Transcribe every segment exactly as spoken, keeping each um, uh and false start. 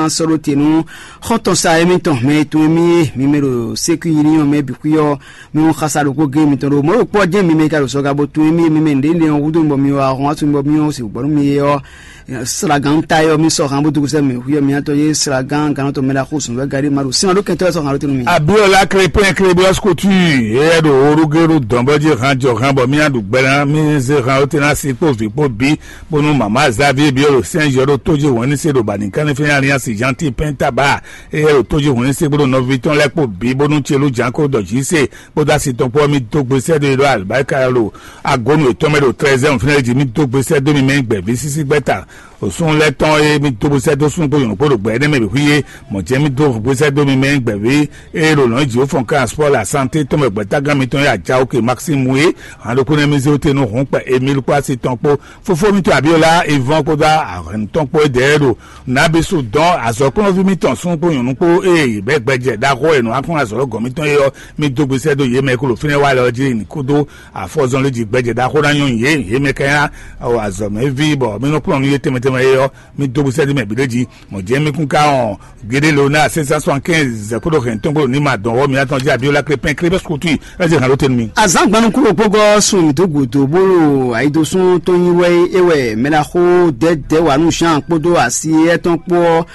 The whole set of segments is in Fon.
sɔ́ ɖó te nú xɔ́ntɔn sa émítɔn mɛ e tunwun émí é, mi mɛ ɖo sékú yi ní ɔ́ mɛ bǐ xwí ɔ́, mi wú xasa ɖokpó gé mitɔn ɖo mɔ̌ ɖo kpɔ́ jɛ́n mi mɛ ka ɖo zɔga bó tunwun émí é, mi mɛ nǔɖé nɖé ɔ́ húzú mi bɔ mi wá hɔn asú mi bɔ mi ɔ́ sixú gbɔ nú mi é ɔ́, Sragán ta ɔ́, mi sɔ́ han bó dúgú sɛ́ mɛ xwí ɔ́, mi atɔn yé Sragán gannɔtɔ mɛ ɖaxó zɔn wɛ gari ma ɖo sin ɔ́ ɖó kɛntɔ́ wɛ sɔ́ han ɖó tɛ́ nú mi. Abiola Krépin Krébíɔs Kutu, éyɛ́ ɖo orúgérú dɔn bɔ jí han jɔ han bɔ mía ɖu gbɛ ná, mí zé han ó tɛ́ ná si kpó vǐ kpó bí, bónú mama Xavier Biolo sɛn yɔ ɖó tó jí wɛn ní se ɖo bani kánní fɛn aliansi Jean Ti Pɛn Taba, éyɛ́ ɖo tó jí wɛn ní se kpódó nɔví tɔn lɛ́ɛ kpó bí, bónú Celú Janko ɖɔ jí se kpódó asi tɔn kpó ɔ́, mí dó gbe sɛ́ ɖó e ɖó alibáríka lɔ agbónú yětɔn mɛ ɖo trɛzɛ́ɛn fínɛ́ jí mí dó gbe sɛ́ dó mi mɛ gbɛ̌ví sísí gbɛ́ta. Òsún lɛ́ɛ tɔn e mí dó gbe sɛ́ dó súnnu kpó nyɔ̌nu kpó ɖo gbɛ énɛ́ mɛ bǐ xwí é, mɔ̌ jɛ́n mí dó gbe sɛ́ dó mi mɛ gbɛ̌ví e ɖo lɔ̌n jǐ ó fɔn kan spɔ́ la santé tɔn mɛ gbɛ̌tágán mitɔn e aja oke Maxime Moué, hǎn ɖokpó nɛ́ mí zé ó te nú hǔn kpɛ Emile kpó asi tɔn kpó fófó mítɔn Abiola Yvon kpódó ahɛ̌nnu tɔn kpó é dɛ̌ ɖo Nabisu dɔn azɔ̌kplɔ́nví mítɔn súnnu kpó nyɔ̌nu kpó ée yě bɛ́ gbɛjɛ ɖaxó e nǔ akún azɔ̌ gɔ̌n mítɔn é ɔ́, mí dó gbe sɛ́ dó yě mɛ e kó ɖo fínɛ́ wa lɛ ɔ́ jí ní kúdó afɔzɔnlin jí gbɛjɛ ɖaxó ná nyɔ́ yě, yě mɛ ka nyí azɔ̌mɛví bɔ mí nɔ kplɔ́n nú yě tɛnmɛ tɛnmɛ é ɔ́, mí dó gbe sɛ́ dó mɛ bǐ ɖé jí. Mɔ̌ jɛ́n mí kún ka wɔn Gédé Leonard sɛ́n sɛ́n sɔ́ kɛ́nzi zɛ̌ kpódó hɛn tɔn kpódó ní ma dɔn wɔ́ mǐtɔn jí Abiola Krépin Krépin Skutu ɛ zé hǎn ɖó te nú mì. Azǎn gbanukúnɖokpógɔ́ sun mǐ dó gǔdo bó ɖo ayidosún tɔn nyi wɛ é wɛ mɛɖaxó Dɛ̌dɛ̌wanu Jean kpódó asi étɔn kpó ɔ́,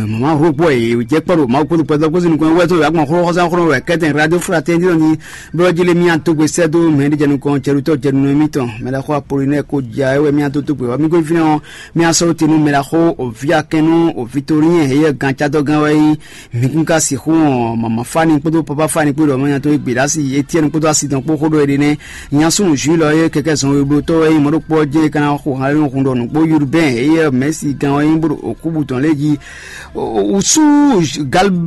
mama Robo e jɛ kpɔ ɖo Mawu kpódó kpɛdɔ kpódó nukɔn wɛ tɔn yàgbọn xló xɔsán xló wɛ kɛtɛn Radio Fraternité ni bó jí lé mía dó gbe sɛ́ dó mɛ ɖé jɛ nukɔn jɛɖutɔ́ jɛɖunɔ émítɔn mɛɖaxó Apolinɛ́ɛ kó ja é wɛ mía dó dó gbe wá mí gbe fínɛ́ ɔ́, mía sɔ́ te nú mɛɖaxó òví akɛnnú òví Tolínyɛn heyɛ́ gancadɔ́gán wɛ nyí. Mǐ kún ka sixú wɔn mama Fani kpódó papa Fani kpó ɖɔ mɔnya tɔn e gbe ɖo asi Etiɛnu kpódó asi tɔn kpó xó ɖɔ éɖée nɛ́. Nya súnnu Jules ɔ́ e kɛkɛ zɔn we bló tɔ́ wɛ nyí mɔɖokpɔ́ ɔ́ jɛ́n é ka ná xo han lɛ́ɛ nɔ hun ɖɔ nǔgbó Yudubɛ́n éyɛ́ Mɛ̌si gán ɔ́ nyí bó ɖo òkúbu tɔn lɛ́ɛ jí. Wǔsú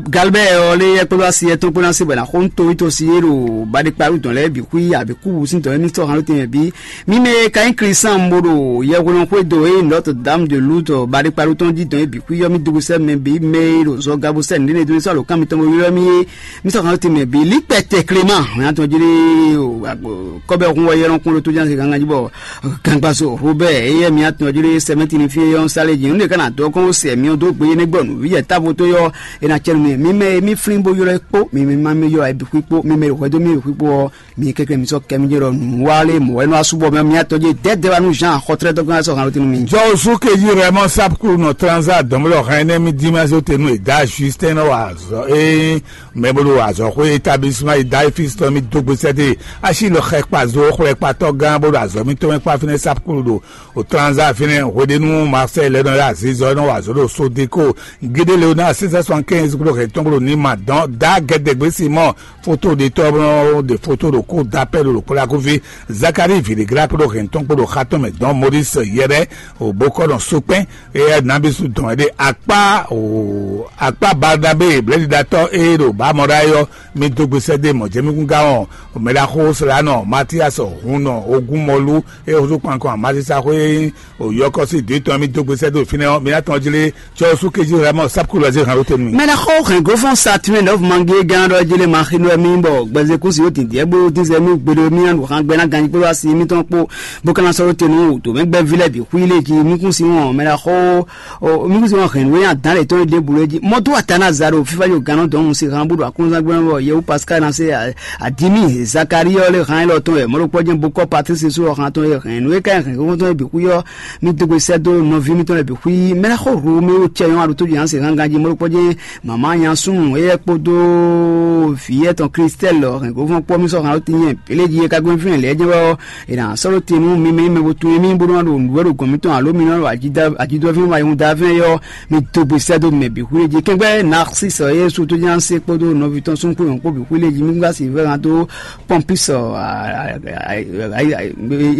Galbɛ́ɛ ɔ́ lé yɛ kpódó asi yɛtɔn kpó ná se bɔ è nǎ xo nú towítɔ́ si é ɖo baɖekpalú tɔn lɛ́ɛ bǐ xwí abǐ kúbu sín tɔn émí sɔ́ han ló tɛnmɛ bǐ. Mi mɛ e ka nyí Klísan bó ɖo yɛhweɖɔn xwédo e Notre Dame de Lourdes baɖekpalú tɔn jí dɔn é bǐ xwí ɔ́, mì dógosɛ́ mɛ bǐ mɛ e ɖo zɔga bó sɛ́ nǔɖé nɛ́ dó mì sɔ́ alǒkan mitɔn bo ylɔ́ mì é, mì sɔ́ han ló tɛnmɛ bǐ. Líkpɛtɛ Clément hɔn atɔn jí ɖé kɔ́bɛ́ hun wɛ yɛlɔn kún ɖó tó ján se gangan jí bɔ Gangbazo Robert, éyɛ́ mǐ atɔn jí ɖé sɛmɛ́tini fí é ɔ́, sálé jí nǔɖé ká ná dɔ́ kɔn ó sɛ mǐ ɔ́ dó gbé énɛ́ gbɔ nǔ yɛ távo tó yɔ́, é ná cɛ́ nú mì. Mi mɛ e mí flín bó ylɔ́ é kpó, mi mɛ ma mɛ ylɔ́ ayǐ bǐ xwí kpó, mi mɛ e ɖo hwɛ dó mì bǐ xwí kpó ɔ́, mi kɛ́kɛ́ mi sɔ́ kɛ mì jɛ ɖɔ nǔ wa lé mɔ̌ wɛ nɔ wá súbɔ mɛ mǐ atɔn jí dɛ̌dɛ́ wa nú Jean xɔtlɛ́tɔ́ gán sɔ́ han ló tɛ́ nú mi. Jɔwusu keji Rɛmɔ Sapkulu nɔ Tranza dɔmlɔ hɛn nɛ́ mì dín ma zó te nú è dá Justin nɔ wa azɔ̌ é mɛ bó ɖo azɔ̌xwé établissement e dá Efisitɔ mì dó gbe sɛ́ dó e asi lɔ xɛ kpa zo xwlɛkpatɔ́ gán bó ɖo azɔ̌ mítɔn mɛ kpá fínɛ́ Sapkulu ɖo O Tranza fínɛ́ hweɖénu Marseille lɛ́ɛ nɔ yá azizɔ e nɔ wa azɔ̌ ɖo Sodeko. Gédé Leonard six cent soixante-quinze kpó ɖo hɛn tɔn kpó ɖo Nima dɔn dá Gɛdɛgbé Simɔn foto ɖetɔ́ bɔ ɖe foto ɖo kó da pɛ ɖo ɖo kpó ɖo akúvi. Zakari Vidigla kpó ɖo hɛn tɔn kpó ɖo xa tɔn mɛ dɔn Maurice Yɛrɛ o bokɔ nɔ sokpɛn. Eya nabisu dɔn ɛɖe akpa o akpa Barnabe blɛɖiɖatɔ e ɖo bamɔɖa yɔ mi dó gbe sɛ́ dó mɔ̌ jɛ mi kún gán ɔ́. Mɛɖaxó Slanɔ Matias Hunnɔ Ogunmɔlu e húzú kpankɔ Amazisa xwé o yɔkɔ́ sín dǐ tɔn mi dó gbe sɛ́ dó fínɛ́ ɔ́, mi ná tɔn jlé cɔ́ sú kéjí Ramɔ Sapkulu ɛ zé hɛn ɖó te nú mi. Mɛɖaxó hɛn gǒfɔn Saturne nɔ́ mangi gán ɖɔ jlé ma xi nú mi bɔ gbɛzekúsi ó dǐndín bó dín zɛ nú gbeɖé mi ná ɖo han gbɛ ná ganjí kpódó asi mitɔn kpó bó ka ná sɔ́ ɖó te nú wǔtó mɛ gbɛ́ví lɛ́ɛ bǐ xwí lé jí mi kún si wɔn mɛɖaxó Ɔ, mi kún se wọn hɛn nǔ e nyi adǎn lětɔn e ɖěbǔ lé jí. Mɔdó atana za ɖo fífá yóò gán nɔ dɔn si han bó ɖo akúnzán gbɛ́ bɔ Yewu Pascal ná se adimi Zakari ɔ́ lé han élɔ́ tɔn wɛ mɔɖokpɔ́ jɛ́n bó kɔ́ Patrice sú ɔ́ han tɔn e hɛn nǔ e ka nyi hɛn xóxó tɔn e bǐ xwí ɔ́, mi dó gbe sɛ́ dó nɔví mitɔn lɛ́ɛ bǐ xwí. Mɛɖaxó Romeo cɛ nyɔ́ aɖo tó jí han se han ganjí mɔɖokpɔ́ jɛ́n mama nya súnnu éyɛ́ kpódó vǐ etɔn Kristɛl hɛn xóxó kpɔ́ mi sɔ́ han ɖó tinyɛ běléji e ka gbɛ́ fínɛ́ lɛ́ɛ jɛ́n wɛ ɔ́, è nǎ sɔ́ ɖó te nú mi mɛ e mɛ bo tunwun émí bónú ná ɖo nǔ wɛ ɖo gɔ̌n mitɔn alo mi nɔ ɖo ajidɔ́fín ma nyɔ́da fínɛ́ ɔ́, mi dó gbe sɛ́ dó mɛ bǐ xwlé jí. Kɛ́ngbɛ́ Narcisse Yɛsu tójánse kpódó nɔví tɔn súnxwé nyɔ̌kpó bǐ xwlé jí. Mi gá si vɛ́ hàn dó Pɔmpis é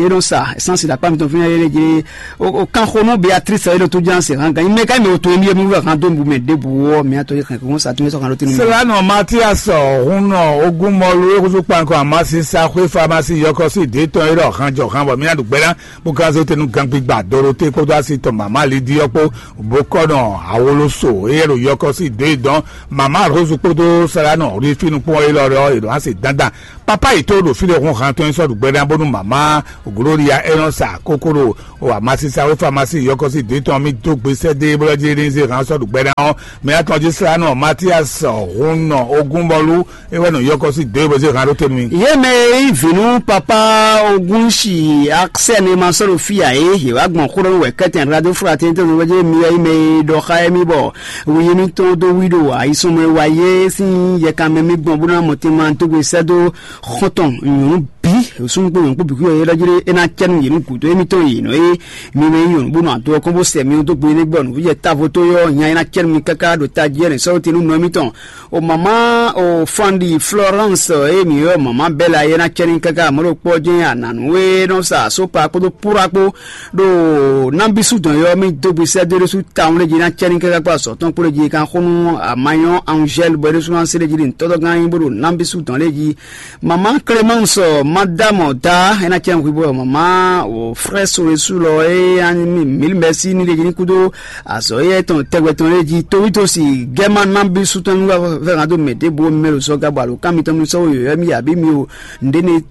nɔ sa sánsì ɖo akpá mitɔn fínɛ́ yé jí. O kanxonú Beatrice e ɖo tójánse hàn gǎn mɛ ká mɛ o tunwun émí yé mi wɛ hàn dó nǔ mɛ ɖěbǔ ɔ́, mi atɔ́ yé hɛn kó sa tún yé sɔ́ hàn ɖó tɛnumɛ. Sela nɔ Matias Hunɔ Ogunmɔlu e húzú kpankɔ Amasi sa xwé famasi yɔkɔ sí dě tɔn e ɖɔ hàn jɔ hàn bɔ mí ná ɖu gbɛ ná bó ka zé tenu gangbigba Dorote kpódó asi tɔn mama Lidi ɔ́ kpó bó kɔ nɔ awoloso e yɛ ɖo yɔkɔ sí dě dɔn mama Rose kpódó Sela nɔ rí fínú kpɔ́n é lɔ ɖɔ è ɖo asi dandan. Papa yi tó ɖo fí ɖe hun hàn tɔn e sɔ́ ɖu gbɛ ná bónú mama Gloria e nɔ sa kókó ɖo O amasi sa wé famasi yɔkɔsi dé tɔn mi dó gbe sɛ́ dé bó lɔ́ jí ní zé hán sɔ́ ɖu gbɛ́ ná ɔ́, mɛ atɔn jí slá nɔ Matias Hun nɔ ogún bɔlú é wɛ nɔ yɔkɔsi dé bó zé hán ɖó tɛ́ nú mi. Yé mɛ e yí vǐ nú papá Ogunsi Aksɛ́n e ma sɔ́ ɖo fí ǎ é, yě wá gbɔn xó ɖɔ nú wɛ̌kɛ́tɛn Radoflatɛn tɔn nú wɛ́jɛ́ mi wɛ yí mɛ e ɖɔ xá émí bɔ wu yémítɔn dó wí ɖo ayisɔnmɔ e wa yé sín yɛkanmɛ mì gbɔn bó ná mɔ tɛnmɛ dó gbe sɛ́ dó xɔ́ntɔn nyɔ̌nu bǐ, súnnu kpó nyɔ̌nu kpó bǐ xwíyɔ é ɖɔ jí é ná cɛ nú yě nú gǔdo émítɔn yě nɔ é. Mi mɛ nyí nyɔ̌nu bó nɔ ado ɔ́ kɔn bó sɛ mi dó gbe énɛ́ gbɔ nǔvú jɛ távo tó yɔ́ nya é ná cɛ nú mi káká ɖo tají ɛnɛ sɔ́ tɛn nú nɔ émítɔn. O mama o Fandi Florence e mi yɔ mama Bella é ná cɛ nú káká mɔ̌ ɖo kpɔ́ jɛ́n anǎnú e nɔ sa sópa kpódó púra kpó ɖo nábísú dɔn yɔ́ mi dó gbe sɛ́ dó ɖésú tawun lé jí ná cɛ nú káká kpó azɔ̌ tɔn kpó lé jí kan xó nú amanyɔ Angèle bɔ é ɖésú ná se lé jí ɖi ntɔ́tɔ́ gán nyí bó ɖo nábísú dɔn lé jí. Mama Clémence, madame da é ná cɛ nú hwibó mama o frère Solesu lɔ é ányi mǐ mǐ mɛsí ní lé jí ní kúdó azɔ̌ éyɛ́ tɔn tɛgbɛ tɔn lé jí towítɔ́ si gɛ́má nábísú tɔn nú vɛ́ hán dó mɛ ɖěbǔ mɛ ɖo zɔ́gá bɔ alǒkan mitɔn mi sɔ́ yǒyɔ mì abǐ mi o nǔɖé ne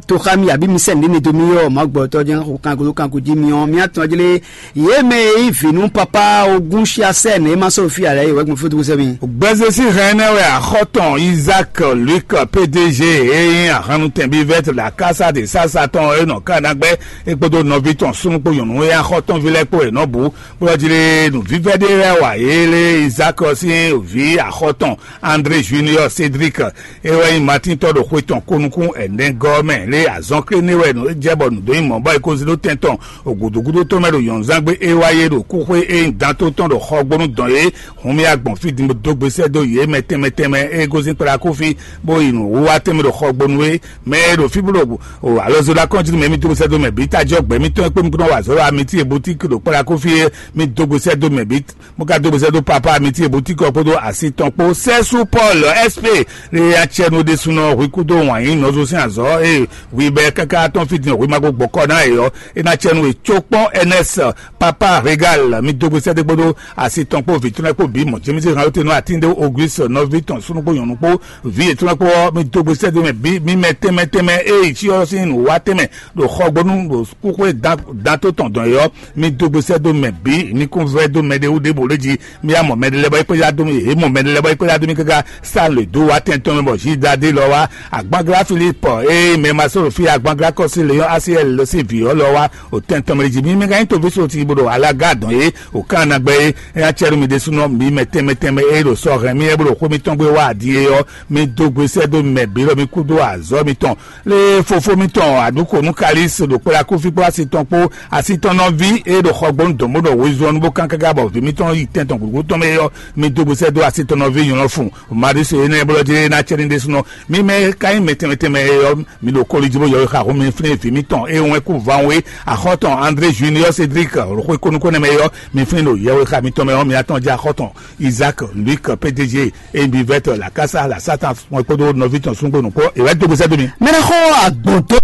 toxá mi abǐ mi sɛ nǔɖé ne dó mi ɔ́, mɔ̌ gbɔtɔ́ jɛ́n xo kanko dó kanko jí mi ɔ́, mi atɔn jlé yě mɛ e yí vǐ nú papá ogún xyasɛ́ nɛ é ma sɔ́ ɖo fí ǎ lɛ́ɛ é wɛ gbɔn fí dúgúsɛ mi. Gbɛzesi hɛn nɛ wɛ axɔtɔn Isaac Luc P D G e nyí ahannutɛnbi vɛt la kasa de sasa tɔn e nɔ Kanagbɛ e kpódó nɔví tɔn súnnu kpó nyɔ̌nu e axɔtɔnví lɛ́ɛ kpó e nɔ bǔ bó ɔ́ jlé nǔvívɛ́ ɖé lɛ́ɛ wa yě lé Isaac ɔ́ sín vǐ axɔtɔn André Junior Cédric e wɛ nyí Matín tɔn ɖo xwe tɔn ko nukún ɛnɛ gɔ́ mɛ lé azɔn klé ní wɛ nǔ jɛ bɔ nǔ dó nyí mɔ̌ bɔ é ko zé ɖó tɛn tɔn ògǔdúgúdú tɔn mɛ ɖo nyɔ̌núzán gbé é wá yé ɖo kúxwé é nyí dan tó tɔn ɖo xɔ gbónú dɔn é hun mì agbɔn fí din bó dó gbe sɛ́ dó yě mɛ tɛnmɛ tɛnmɛ é gosín kplá kó fí bó yi nǔ wá tɛnmɛ ɖo xɔ gbónú é mɛ e ɖo fí bó ɖo alɔzó ɖo akɔ́njínú mɛ mì dó gbe sɛ́ dó mɛ bǐ tají ɔ́ gbɛ̌ mítɔn é kpé mí kúnɔ wa azɔ̌ ɖo amití e boutique ɖo kplá kó fí é mì dó gbe sɛ́ dó mɛ bǐ mo ka dó gbe sɛ́ dó papá mi tí ebútíkɔ kpódó asi tɔn kpó sɛ́sú Paul S P lé acɛnu ɖésúnɔ hwi kúdó wǎn yí nɔzo sín azɔ̌ e hwi bɛ káká tɔn fí din hwi ma ko gbɔkɔ ná e ɔ́ é ná cɛnu e có kpɔ́n Ernest papa Régal mi dó gbe sɛ́ dó kpódó asi tɔn kpó vǐ tɔn lɛ́ɛ kpó bǐ mɔ̌ Jémísí hàn óte nú atíndé Auguste nɔví tɔn súnú kpó nyɔ̌nu kpó vǐ yětɔn lɛ́ɛ kpó ɔ́ mi dó gbe sɛ́ dó mɛ bǐ mi mɛ tɛnmɛ tɛnmɛ e yi cyɔ sín nǔwá tɛnmɛ ɖo xɔgbónú ɖo kúxwé dan tó tɔn dɔn é ɔ́ mi dó gbe sɛ́ dó mɛ bǐ mi kún vɛ́ dó mɛɖé wú ɖěbǔ lé jí mi yá mɔ mɛɖé lɛ́ɛ bɔ é kpéjá dó mì, yě mɔ mɛɖé lɛ́ɛ bɔ é kpéjá dó mì káká sá lě dó wá tɛn tɔn mɛ bɔ Zidade lɔ wá agbanglá Philippe eye mɛ ma sɔ́ ɖo fí agbanglá kɔsí Leon Asiel lɔ sí vǐ ɔ́ lɔ wá o tɛn tɔn mɛ jí mi mɛ ka nyí toví so ti bó ɖo alága dɔn é o kán ná gbɛ é é ná cɛ nú mi ɖésúnɔ mi mɛ tɛnmɛ tɛnmɛ é ɖo sɔ hɛn mi é bó ɖo xwé mitɔn gbé wá adi é ɔ́ mi dó gbe sɛ́ dó mɛ bǐ lɔ mi kú dó azɔ́ mitɔn lé fofó mitɔn aɖǔkonu Kalis ɖo kplá kúfí kpó asi tɔn kpó asi tɔn nɔví e ɖo xɔgbónu dɔn bó ɖɔ wezun ɔ́ nú bó kán káká bɔ vǐ mitɔn yi tɛn tɔn gǔgú tɔn mɛ é ɔ́, mi dó gbe sɛ́ dó asi tɔn nɔví nyɔ̌nu fun. Maɖisu énɛ́ blɔ́ jí é ná cɛ ní ɖésúnɔ. Mi mɛ e ka nyí mɛ tɛnmɛ tɛnmɛ é ɔ́, mi ɖo koli jí bó yɔwexaxó mi flín vǐ mitɔn e wɛn kú van wé axɔ́tɔn André Junior Cédric xwé kónúkónɛmɛ é ɔ́, mi flín ɖo yɛwexá mitɔn mɛ ɔ́, mi atɔn jɛ axɔ́tɔn Isaac Luc P D G, Ebi vɛtɔ la kasa la Satan mɔ kpódó nɔví tɔn súngbó nukpó ìwé dógúsẹ́ dó mi. Mɛɖexɔ agbɔ̌ntɔ́.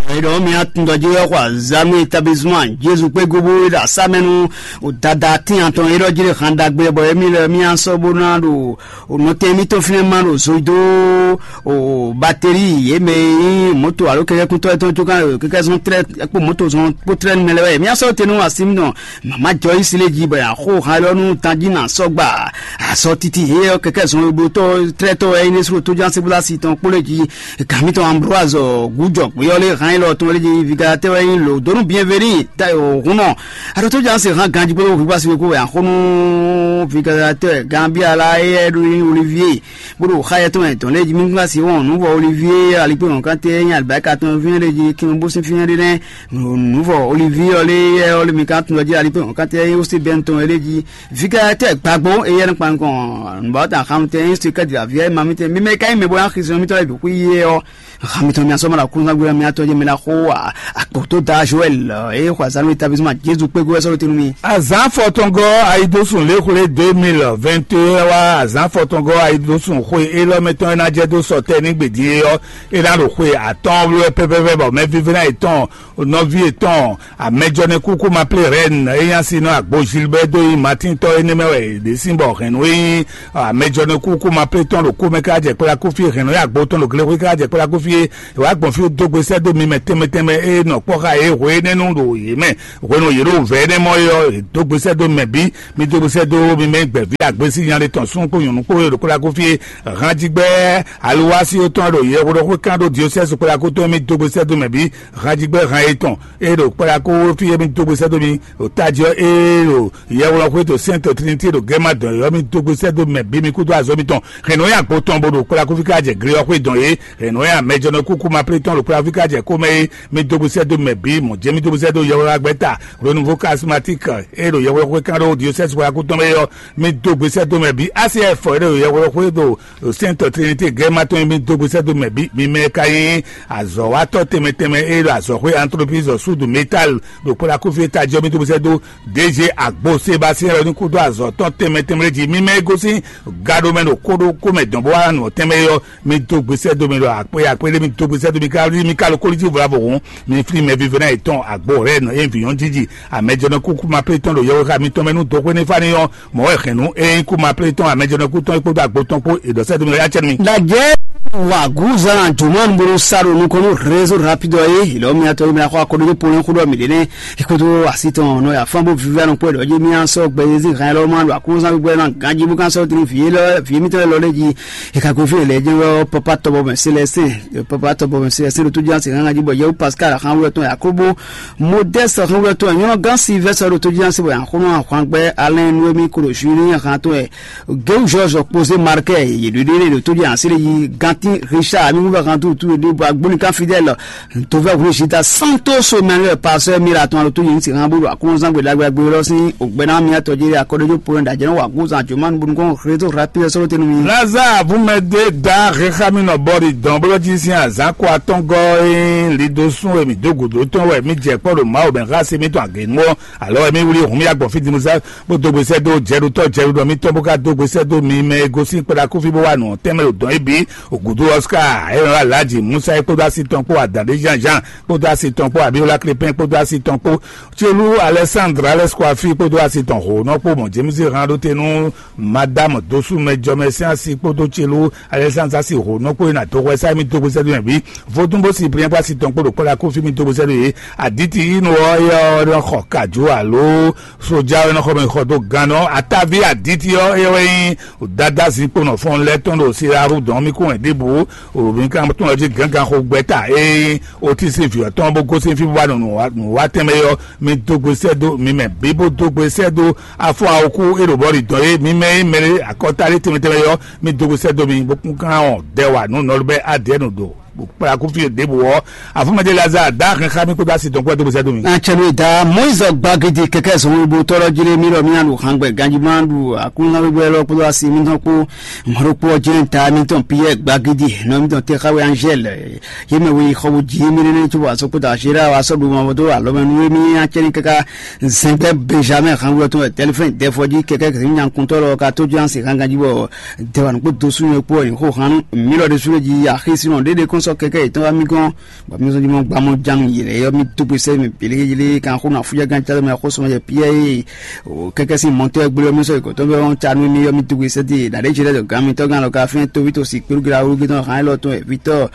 Ɛɖɔ mi atundɔji wɛ xɔ azanu établissement Jezu kpé gobo e ɖo asámɛnu o dada tín atɔn e ɖɔ jí ɖe han ɖagbe bɔ emi lɛ mi asɔ bó ná ɖo o nɔtɛn mitɔn fínɛ ma ɖo zo dó o bateri yě mɛ e nyí moto alo kɛkɛkuntɔ etɔn tso kan kɛkɛ zɔn trɛ kpó moto zɔn kpó trɛ mɛ lɛ wɛ mi asɔ te nú asi mi nɔ mama jɔ yi si lé jí bɔ ya xo han lɔ nú tanjí na sɔgba. Azɔ titi he ɔ kɛkɛ zɔn e blotɔ trɛtɔ wɛ ne sro to jan sebula si tɔn kpole ji gami tɔn Ambroise gujɔ gbeyɔ le han ilɔ tɔn le ji vigatɛ wɛ yin lo donu bienveni ta o hun nɔ aɖɔ to jan se han ganji kpolo hu basi ko wɛ axonu vigatɛ Gambia la eyɛ ɖo yin Olivier bolo xa yɛ tɔn yɛ tɔn le ji mi gba si wɔn nu vɔ Olivier ali pe wɔn kan te yin alibarika tɔn fiɲɛ le ji kin bo sin fiɲɛ le nɛ nu vɔ Olivier ɔle yɛ ɔle mi kan tun lɔ ji ali pe wɔn kan te yin osi bɛn tɔn le ji Viga tɛ gbagbo eye ne kpan kɔn nbɔ ta xam tɛ yin sika di aviɛ ma mi tɛ mi mɛ ka yin mɛ bo yan xizɔ mi tɔ bi ku ye ɔ xam mi tɔ mi asɔ ma la kun na gbe mi atɔ je mi la xo a akpo to da Joël e xɔ azan mi tabisma Jesu kpe go ɛsɔ tinu mi. Azan fɔtɔngɔ ayidosun lexule deux mille vingt et un wa azan fɔtɔngɔ ayidosun xwe elɔ mɛtɔn ena jɛ do sɔtɛ ni gbedi ye ɔ ena ɖo xwe atɔn wlɛ pɛpɛpɛ bɔ mɛ vivina etɔn nɔvi etɔn amɛjɔnɛ kuku ma plé rɛn eyan si nɔ agbo Gilbert do yi Martin tɔ ene mɛ wɛ ɖe sin bɔ Hɛn nǔ e nyí amɛjɔnɔkúkú ma plé tɔn ɖo kúmɛ ká jɛ kplákú fí, hɛn nǔ e agbo tɔn ɖo glexwé ká jɛ klákú fí, è wǎ gbɔn fí dó gbe sɛ́ dó mi mɛ tɛnmɛ tɛnmɛ e nɔ kpɔ́ xá yě hwe énɛ́ nu ɖo yě mɛ. Hwenu yě ɖo vɛ̌ énɛ́ mɔ é ɔ́, è dó gbe sɛ́ dó mi mɛ bǐ. Mi dó gbe sɛ́ dó mi mɛ gbɛ̌ví agbésí nya ɖé tɔn súnnu kpó nyɔ̌nu kpó e ɖo kplákú fí é. Hanjigbɛ aluwási tɔn ɖo yɛhweɖɔxwé kán ɖó diosɛ́si kplákú tɔn, mi dó gbe sɛ́ dó mɛ bǐ. Hanjigbɛ han etɔn e ɖo kplákú fí é, mi dó gbe sɛ́ dó mi ɖo tají ɔ́, e ɖo yɛhweɖɔxwé to Sɛ́nto Trinité ɖo gɛ́má dɔn é ɔ́, mi dó gbe sɛ́ dó mɛ bǐ, mi kúdó azɔ̌ mitɔn. Hɛn nǔ nyi agbo tɔn bo ɖo kplá kúfí ká jɛ gle ɔ́ xwé dɔn é. Hɛn nǔ nyi amɛjɔnɔ kúkú ma plé tɔn ɖo kplá kúfí ká jɛ xomɛ é, mi dó gbe sɛ́ dó mɛ bǐ. Mɔ̌ jɛ́n mi dó gbe sɛ́ dó yɔhwɛ́ gbɛ́ta Renouveau Charismatique e ɖo yɔhwɛ́ xwé kán ɖó diosɛ́si xwé akútɔn mɛ é ɔ́, mi dó gbe sɛ́ dó mɛ bǐ. A C F e ɖo yɔhwɛ́ xwé ɖo Sɛ́nto Trinité gɛ́má tɔn é, mi dó gbe sɛ́ dó mɛ bǐ. Mi mɛ ka nyí azɔ̌watɔ́ tɛnmɛ tɛnmɛ e ɖo azɔ̌xwé Entreprise Sud Métal ɖo kplá kúfí é tají ɔ́, mi dó gbe sɛ́ dó D G Agbo Sébastien lɔ ní kúdó azɔ̌ tɔn tɛnmɛ tɛnmɛ lɛ́ɛ jí. Mi mɛ e gosín gaɖomɛ ɖo kóɖókó mɛ dɔn bó wá nɔ tɛnmɛ é ɔ́, mi dó gbe sɛ́ dó mi ɖo akpé akpé ɖé, mi dó gbe sɛ́ dó mi ká mi ka lo kólijí vɔ̌ ɖěvo hǔn, mi flín mɛvívɛ́ná yětɔn Agbo Rɛ́n e vǐ nyɔ́ jiji amɛjɔnɔ kúkú ma plé tɔn ɖo yɔhwe xá mitɔn mɛ nú dɔxwé ní fá ní ɔ́, mɔ̌ wɛ hɛn nú é nyí kú ma plé tɔn amɛjɔnɔ kú tɔn é kpódó agbo tɔn kpó è ɖɔ sɛ́ dó mi ɖɔ yá cɛ nú mi. Ɖajɛ waguzan jomanu bolo sa ɖo nukɔn nú réseau rapide ɔ́ é, lɔ mi atɔ mi axɔ akɔɖodo polin xó ɖɔ mi ɖe nɛ. Ekoto asi tɔn nɔ ya fán bó vivi anɔ kpɔ́ ɖɔ dzi mi asɔ gbɛ yezi hɛn lɔ ma ɖo akúnzán gbɛ na ganji bó kan sɔ tinu vie lɔ vie mi tɔ lɔ lɛ dzi. Eka ko fi lɛ dzi wɔ papa tɔbɔ mɛ selɛsɛ papa tɔbɔ mɛ selɛsɛ ɖo tó dzi asi hɛn ganji bɔ yewu pascal hɛn wɛ tɔn yakobo modeste hɛn wɛ tɔn nyɔnɔ gan silvɛsɛ ɖo tó dzi asi bɔ yankunɔ ahwan gbɛ alɛn nuwemi kolo juilin hɛn tɔn yɛ Géwu George kpozé Markɛ yě ɖo ɖe ɖo tó dzi asi ɖe yi gantin Richard mi wúvɛ kan tu tu ɖe bɔ agbóni kan Fidèle. Tovɛ hwlé Zita Santos Emmanuel pasɛ mira tɔn alo tó yě ní sixan bó ɖo akɔnzán gbe ɖagbe ɖagbe lɔ sín ògbɛná miatɔ jɛ akɔɖójó polɛ ɖajɛ nɔ wa gozan jomanu bonu kɔn réseau rapide sɔrɔ tenu mi. Lazare vumɛde da xexamínɔ bɔri dɔn bó lɔ jí sín azǎn kó atɔ́ngɔ́ e lido sún e mǐ dó gǔdo tɔn wɛ mí jɛ kpɔ́ ɖo Mawu mɛ xá se mítɔn agěnu ɔ́, alɔ wɛ mí wlí hun mí agbɔn fí Dimuzá bó dó gbe sɛ́ dó jɛɖutɔ́ jɛɖuɖɔ mítɔn bó ka dó gbe sɛ́ dó mi mɛ e gosín kpɛɖa kúfí bó wá nǔ ɔ́ tɛnmɛ ɖo dɔn ébi. Ògúdú Ɔská, Ɛlɔn Alaji Musa e kpódó asi tɔn kpó Adǎɖé Jean Jean kpódó asi tɔn kpó Abiola Clépin kpódó asi tɔn kpó Tiolú Alexandre Alexkwafi kpódó asi tɔn Hǒnɔ kpó mɔ̌ Jémízi hán ɖó te nú Madame Dosumɛ jɔmɛ sín asi kpódó Tiolú Alexandre asi Hǒnɔ kpó e nǎ dó hwɛ sá émí dó gbésɛ́ dó nyaví. Vodúnbó Cyprien kpó asi tɔn kpó ɖo kpɔ́ ɖo akófí mì dó gbésɛ́ dó yě. Aditi Inu ɔ́, éyɛ́ ɔ́ nɔ xɔ kajǔ alo sójá ɔ́ nɔ xɔ mɛ xɔ dó gannɔ. Ataví Aditi ɔ́, éyɛ́ wɛ nyí Dada zinkpo nɔ fɔn lɛ́ tɔn ɖo Siraru dɔn mì kún wɛ ɖěbǔ. Mǐ ka tunwun jí gǎngan xo gbɛ́ta ée Otísi vǐ ɔ́ tɔn bó gosín fí bó wá nɔ nǔwá tɛnmɛ ɔ́, mi dó gbe sɛ́ dó mi mɛ bǐ bó dó gbe sɛ́ dó afɔ awokú e ɖo bɔ́ ɖi dɔn é. Mi mɛ e mɛ ɖé akɔta ɖé tɛnmɛ tɛnmɛ ɔ́, mi dó gbe sɛ́ dó mi bó kún kán ɔ́ dɛ wa nǔ nɔlú bɛ́ adɛ̌ nǔ ɖo kplakúfí ɖěbǔ ɔ́. Afúnmɛdé Lazare dá hɛn xá mí kpódó asi tɔn kpó ɛ dó gbe sɛ́ dó mi. Atsɛnuyeda Moyiz gbagidi kɛkɛ zɔnwebotɔ́ lɔ jlé mì ɖɔ mì nya ɖo hangbɛ ganjima ɖu aklúnɔ́wégbé lɔ kpódó asi mítɔn kpó mɔɖokpó ɔ́ jlé ta mítɔn Piyɛ́ɛ gbagidi nɔ mítɔn Texawe Anzɛ́l yě mɛ we xɔ bo jǐ mì ɖé nɛ́ cóbɔ asɔkpótɔ Azera wa sɔ́ ɖu mavɔ dó alɔmɛ nú émí acɛ́nní káká zɛngbɛ́ Benjamɛ́ɛ hangbɛ tɔn wɛ Tɛlifɛ́n Dɛfɔjí kɛkɛ kɛkɛ nyi nyakuntɔ́ lɔ ka tó jlé asi han ganjí bɔ dɛwanukpó dosúnɔ kpó wɛ nyǐxó han nú mǐ lɔ ɖésú jí axésínɔ ɖéɖé kɔn sɔ́ kɛkɛ yětɔn wá mì gɔ́n. Bɔ mí zɔn jí mɔ gbamɔ jánu yělɛ yɔ mí dó gbe sɛ́ mɛ bělégélé kan xó na fúyɛ gán cálɛ mɛ xó sɔmɔ yɛ Piyɛ́ɛ ye o kɛkɛ sín mɔtɔ́ ɛ gblé mí sɔ́ ikɔtɔ́ bɛ wɔn canu mí yɔ mí dó gbe sɛ́ dé ɖaɖé jɛ lɛ́ dɔ gán mítɔ́ gán lɔ ka fɛn tóví tó si kpéɖu gira wúlú gé tɔn hán élɔ́ tɔn vítɔ́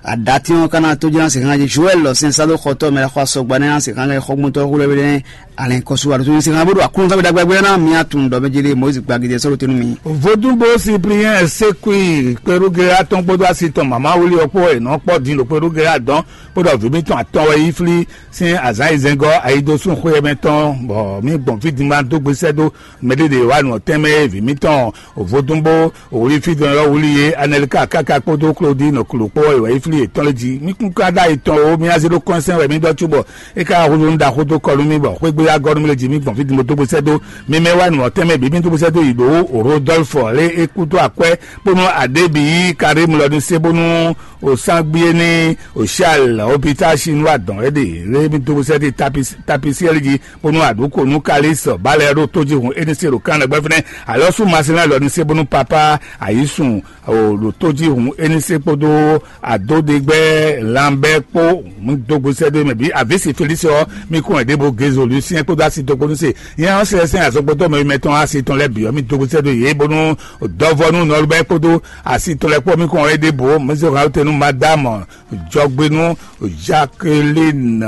aɖatí ɔ́ ká ná tó jɛ ná se hán jí Joɛl lɔ sɛn sá dó xɔtɔ́ mɛ xɔ asɔgba nɛ́ ná se hán xɔgbɔntɔ́ xó lɛ́ bɛ nɛ́ alɛn kɔsú wa ɖo tó se hán bó ɖo aklúnɔ tábí ɖagbe ɖagbe ná mí atun ɖɔ mɛ jélé Mɔyízi gbagidi ɛ sɔ́ ɖo tɛnu mì. Vodúnbó Cyprien Sékui kpéɖugé atɔn kpódó asi tɔn mama wuli ɔkpó ɛ nɔ kpɔ din ɖo kpéɖugé adɔn kpódó vǐ mítɔn atɔn wɛ yi flí sín azǎn yi zɛngɔ́ ayidosún xwé mɛ tɔn bɔ mí gbɔn fí din ma dó gbesɛ dó mɛɖeɖe wa nɔ tɛnmɛ vǐ mítɔn vodúnbó wuli fí dɔn yɔ wuli yé Anɛlika káká kpódó Klodí nɔ klo kpó wɛ yi flí yětɔn lé jí mí kún ká ɖó ayi tɔn o mí azé ɖó kɔnsɛn wɛ mí ɖɔ cóbɔ é ka húzú nu ɖaxó dó kɔ nú mì bɔ xwé gbé agɔ́ nú mì lé jí mì gbɔn fí din bó dó gbesɛ dó. Mi mɛ wá nǔ ɔ́ tɛnmɛ bǐ mì dó gbesɛ dó yi ɖǒ Rodolphe lé é kú dó akwɛ́ bónú aɖě bǐ yí Karim lɔ ní sé bónú òsángbíéní òṣìṣẹ́ òpítà chinois dɔn é ɖe lé mì dó gbesɛ dó tapisiɛli jí bónú àdúkò nú Kalis bálɛ ɖó tójihun é ní sé ɖo kánlɛ gbɛ́ fínɛ́ alɔ́sú Masilɛ́n lɔ ní sé bónú papá àyísùn ɖo tójihun é ní sé kpódó àdódegbɛ́ lanbɛ́ kpó mì dó gbesɛ dó mɛ bǐ àvísì Felísi ɔ́ mì kún ɛ ɖěvo Gézolúsi Tiɛn kpódó asi tɔn kpó nú se. Yɛn ɔ́ sɛsɛn azɔngbɔtɔ́ mɛ mɛtɔn asi tɔn lɛ́ɛ bǐ ɔ́, mì dó sɛ́ dó yě bónú dɔvɔ nú nɔlubɛ kpódó asi tɔn lɛ́ɛ kpó mì kɔn ɔ́ ɖěbǔ. Mɛsɛn hǎn tɛn nú Madame Jɔgbénu Jacqueline,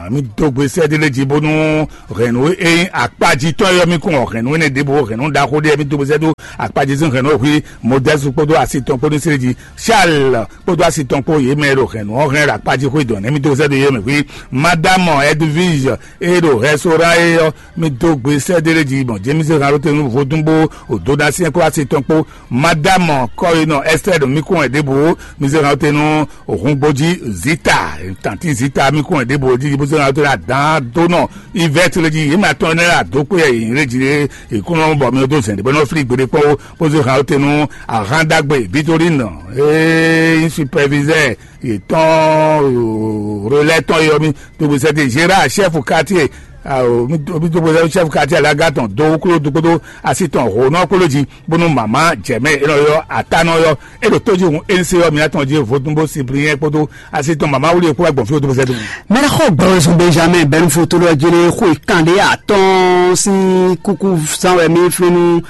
mì dó gbe sɛ́ ɖé lé jí bónú hɛ̌nnu e nyí akpájí tɔn é ɔ́, mì kɔn hɛ̌nnu énɛ́ ɖěbǔ, hɛ̌nnu ɖaxó ɖé mì dó gbe sɛ́ dó akpájí sín hɛ̌nnu e hwí Modɛ́su kpódó asi tɔn kpó ní slé jí. Charles kpódó asi tɔn kpó yě mɛ e ɖo hɛ̌nnu ɔ́ hɛn ɖo akpájí xwé dɔ̌n nɛ́ mì dó sɛ́ dó yě mɛ hwí. Madame Edwige e ɖo hɛsóra é ɔ́, mì dó gbe sɛ́ ɖé lé jí gbɔn James Harotenu vodún bó wòdó ná syɛ́n kpó asi tɔn kpó. Madame Kɔyinɔ Esther ɖo mì kún wɛ ɖěbǔ, mì zé Harotenu òhun gbójí Zita, tanti Zita mì kún wɛ ɖěbǔ jí bó zé Harotenu adǎn dó nɔ Yvette lé jí, yě mɛ atɔn énɛ́ lɛ́ɛ adó kpé yɛ yě lé jí lé, yě kún nɔ bɔ mì dó zɛ̌n ɖé bɔ nɔ flí gbeɖé kpɔ́n ó, bó zé Harotenu ahán ɖagbe Victorine, ee, superviseur yětɔn, relais tɔn yɔ mì, dógbe sɛ́ dé Gérard, chef quartier, omi dógbe sɛ́ chef quartier alaga tɔn dó kúló dó kpódó asi tɔn hǒnɔ kpódó jí, bónú mama jɛmɛ e nɔ yɔ ata nɔ yɔ, e ɖo tójí hun e se yɔ mìatɔn jí vodún bó sipliyɛn kpódó asi tɔn mama wuli e kpó wá gbɔn fí o dógbe sɛ́ dó. Mɛɖexɔ gbɔwɛzun Benjamin bɛnufotolo jele xwe kanɖe atɔn sín kúkú zán wɛ mí flínu.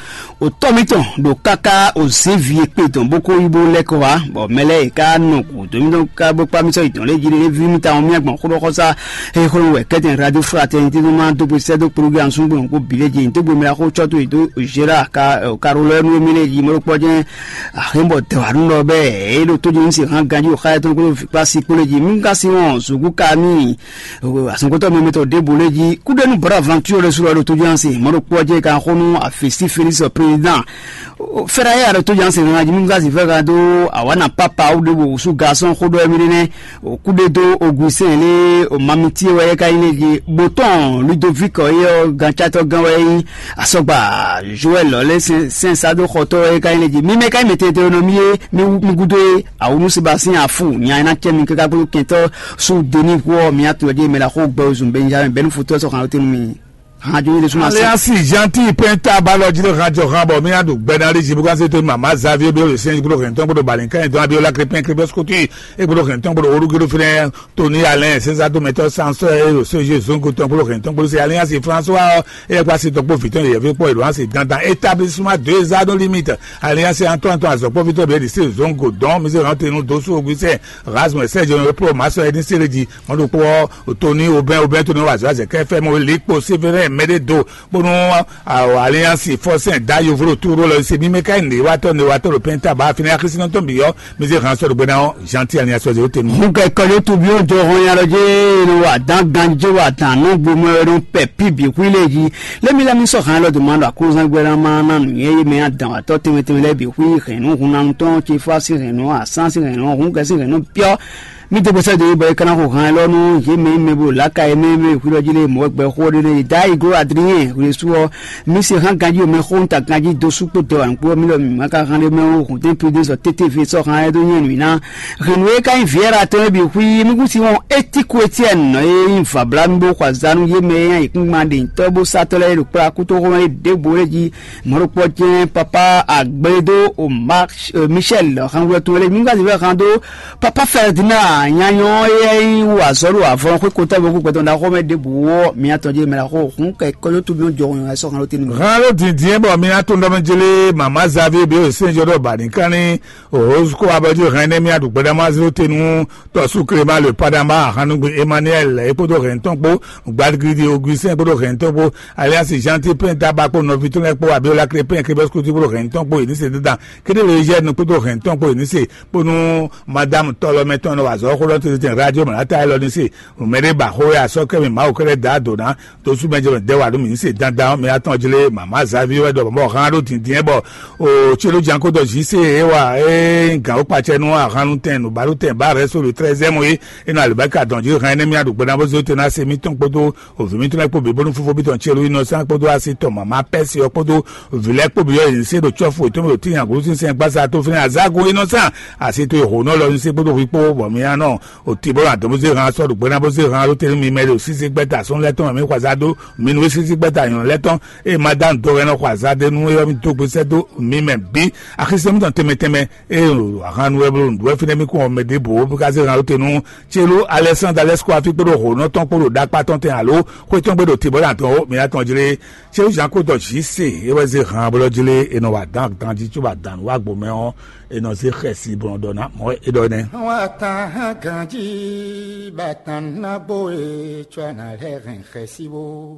Otɔ́ mitɔn ɖo káká òzévi e kpe tɔn bó kó yí bó lɛ́ kɔ wá, bɔ mɛ lɛ́ɛ e ka nɔ gǔdo mitɔn ká bó kpá mitɔn yi tɔn lé jí ɖé ví mitɔn mía gbɔn xóɖɔxɔsá e xlɔ́ wɛ kɛ́tɛn radio fraternité nɔ ma dó gbe sɛ́ dó kplógé ansúgbó kó bǐ lé jí tó gbe mɛ xó cɔ́ tó yi dó Gérard ka Carolɛnu e mí lé jí mɔɖó kpɔ́ jɛ́n axémbɔ dɛwǎnu lɔ bɛ́ é ɖo tó jí ní se hán ganjí o xá yɛtɔn kó ɖo kpá sí kpó lé jí mí ka sí wɔn zǔgú ka n'i. Azɔngotɔ mɛmɛtɔ ɖěbǔ lé jí kúɖénú bɔ̌ avanture lɛ́ɛ su lɔ ɖo tójúanse mɔ̌ ɖo kpɔ́ jɛ kan xó nú afisi Félix président. Fɛ́ɖá yɛ ɖo tójúanse nana jí mímúzá zǐfɛ́ kan dó awǎna pápá wú ɖěbǔ wǔsú gasɔ́n xó ɖɔ émí nɛ́. Kúɖé dó Augustin lé mamiti wɛ é ka nyí lé jí bó tɔn Ludovic ɔ́ é ɔ́ gancátɔ́ gán wɛ é nyí. Asɔgba Joël lɔ́ lé sɛnsá dó xɔtɔ́ wɛ é ka nyí lé jí mímɛ́ ka nyí mɛ tɛtɛ nɔ mí é mí gúdo é. Awunu Sébastien Afu nya e ná cɛ mi káká kpódó kɛntɔ́ sú Denis Huɔ mi atɔn ɖé mɛ la xó gbɛ ozun Benjamin bɛnu futɔ sɔ xan tenu mi. Hàn jó yé suma se. Aliansi Gentil Penta balɔ jí ló hàn jɔ hàn bɔ mi adu gbɛ na lé jibu kan se to mama Xavier bí o le sɛn gbɔdɔ hɛn tɔn gbɔdɔ balẹ̀ nǹkan yẹn tɔn Abiola Crépin Crépin Scotti e gbɔdɔ hɛn tɔn gbɔdɔ orúkọ fúnɛ Tony Alain César Dometɔ Sansɔ e o Soji Zongo tɔn gbɔdɔ hɛn tɔn gbɔdɔ se Aliansi François e kpa si tɔn kpó vitɔn yɛvi kpɔ ìlú ansi dandan établissement deux ans no limite. Aliansi Antoine Antoine azɔkpɔvitɔ bɛ di se Zongo dɔn mi se hàn tenu dosu Augustin Rasmus Sergio Pro Maso Edin Sereji mɔdokpɔ Tony Aubin Aubin Tony wazɔ azɛ kɛ fɛ mo li kpo Séverin Mededo bonu Alliance Forcin da yovlo turo lɔ se mi mɛ ka ne watɔ ne watɔ lo penta ba fini akisina tɔn bi yɔ mi se hàn sɔrɔ gbɛna Gentil Alliance o tenu. Hun kɛ kɔjɔ tu bi o jɔ hɔn ya lɔ je no wa dan ganji wa dan no gbomɛ no pɛ pi bi hui le ji. Lé mi lɛ́ mi sɔ́ hɛn lɔ dǒ ma ɖo aklúzán gbɛ́ ná ma ná nǔnywɛ́ e mɛ adǎn wátɔ́ tɛnmɛ tɛnmɛ lɛ́ɛ bǐ xwí hɛ̌nnu hun ná tɔn ce fá sín hɛ̌nnu asán sín hɛ̌nnu hun kɛ sín hɛ̌nnu pyɔ́. Mi dó gbèsè dó bɔ é ka ná xo hɛn lɔ nú yě mɛ e mɛ bo lǎka e mɛ e mɛ hwilɔ jí lé mɔ̌ gbɛ xó ɖé nɛ́ yě dá yi gló Adriyɛn hwlesú ɔ́. Mi se hán ganjí mɛ xó ta ganjí dó sú kpó dɛ wǎn kpó mi lɔ mi ma ka hán ɖé mɛ ó hǔn tɛ́n pidé sɔ tétévi sɔ́ hán ɛ dó nyɛ nǔ ná. Hɛ̌nnu e ka nyí Vieira tɔn é bǐ xwí mí kún si wɔn étíku Etiɛ́ni nɔ e nyí vabla mi bó xɔ azǎn nú yé mɛ e nyí ayǐkúngban ɖěnyitɔ́ bó sátɔ́ lɛ́ɛ ɖo kplá kútóxó mɛ ɖěbǔ é jí mɔ̌ ɖokpɔ́ jɛ́n papa Agblédó Omar Michel hánwúlɔ tɔn lɛ́ɛ mi ŋgá zǐn vɛ́ hán dó papa Ferdinand nyanyɔ e nyí wú azɔ̌ ɖo avɔ xwé kotá bɔ kú gbɛtɔ́ ɖaxó mɛ ɖěbǔ ɔ́ mi atɔn jɛ mɛ ɖaxó hǔn kɛ kɔjó tú mi jɔ hɔn sɔ́ hán ló tɛ́ nú mi. Hán ló dǐndín bɔ mi ná tún ɖɔ mɛ jélé mama Xavier bí o sɛnjɔ ɖɔ bani kánní Rose kó abɔjú hɛn nɛ́ mía ɖu gbɛɖamá zéro tenu tɔsú Clément le Padama Ahanugbe Emmanuel é kpódó hɛn tɔn kpó Gbadgidi Augustin kpódó hɛn tɔn kpó Alliance Gentil Penta ba kpó nɔvi tɔn lɛ́ɛ kpó Abiola Crépin Kébɛskuti kpódó hɛn tɔn kpó Eunice Dandan Kédélé Eugène kpódó hɛn tɔn kpó Eunice kpónú Madame Tɔlɔmɛ tɔn nɔ wa azɔ̌ xó lɔ tete radio mɛ ata élɔ́ ní se mɛ ɖé ba xó ya sɔ́ kɛ́ mi Mawu kɛ́ɖɛ́ da dǒ ná dosú mɛ jɛ mɛ dɛ wa ɖó mi ní se dandan mɛ atɔn jlé mama Xavier wɛ ɖɔ mɔ hán ɖó dǐndín bɔ o tsi ló jan kó dɔ zi se é wa é gǎn ó kpatsɛ nú ahan nú tɛn nǔbaɖó tɛn ba rɛ sólo treizième é é nɔ alibɛka dɔn jí hɛn énɛ́ mía ɖo gbɛɖá bó zé tɛn ná se mítɔn kpódó òvǐ mítɔn lɛ́ɛ kpó bǐ bónú fífó mítɔn tsi ló inɔsán kpódó asi tɔn mama pɛ́si ɔ́ kpódó òvǐ lɛ́ɛ kpó bǐ ɔ́ yě ní se ɖo cɔ́fu yětɔn mɛ ɖo tíin agǔlú sínsɛn gbásá tó fínɛ́ azágo inɔsán asi tó e hǒnɔ lɔ ní se kpódó hwi kpó bɔ mía nɔ oti bó adɔn bó zé hàn sɔ́ ɖo gbɛ́ná bó zé hàn ló tɛ́nú mi mɛ ɖo sísí gbɛ́ta sɔ́n lɛ́ tɔn mɛ xɔ azá dó mi nú sísí gbɛ́ta nyɔ̌nu lɛ́ tɔn. Ée ma dá nǔ dó hɛn nɔ xɔ azá dó nú é ɔ́ mi dó gbe sɛ́ dó mi mɛ bǐ. Axisɛ mitɔn tɛnmɛ tɛnmɛ ée ahannú wɛ bló nǔɖuɖu wɛ fínɛ́ mì kún ɔmɛ ɖěbǔ bó ká zé hàn ló tɛ́nú. Celu Alɛsándalɛ́skó afí kpódó hǒnɔ tɔn kpó ɖo ɖakpá tɔn tɛn alo xwé tɔn gbe ɖo tǐ bó ɖo atɔn ó mi atɔn jlé. Celu Zan kó dɔ Zise é wɛ zé hàn bó lɔ jlé è nɔ wa dán ganjí có ba dǎn nǔ wá gbǒ mɛ ɔ́, è nɔ zé xɛsi bɔ nɔ ɖɔ ná mɔ̌ é ɖɔ nɛ́. Wọ́n tan hán ganjí bá tan ná bó e có ná lɛ́ hɛn xɛsi bó.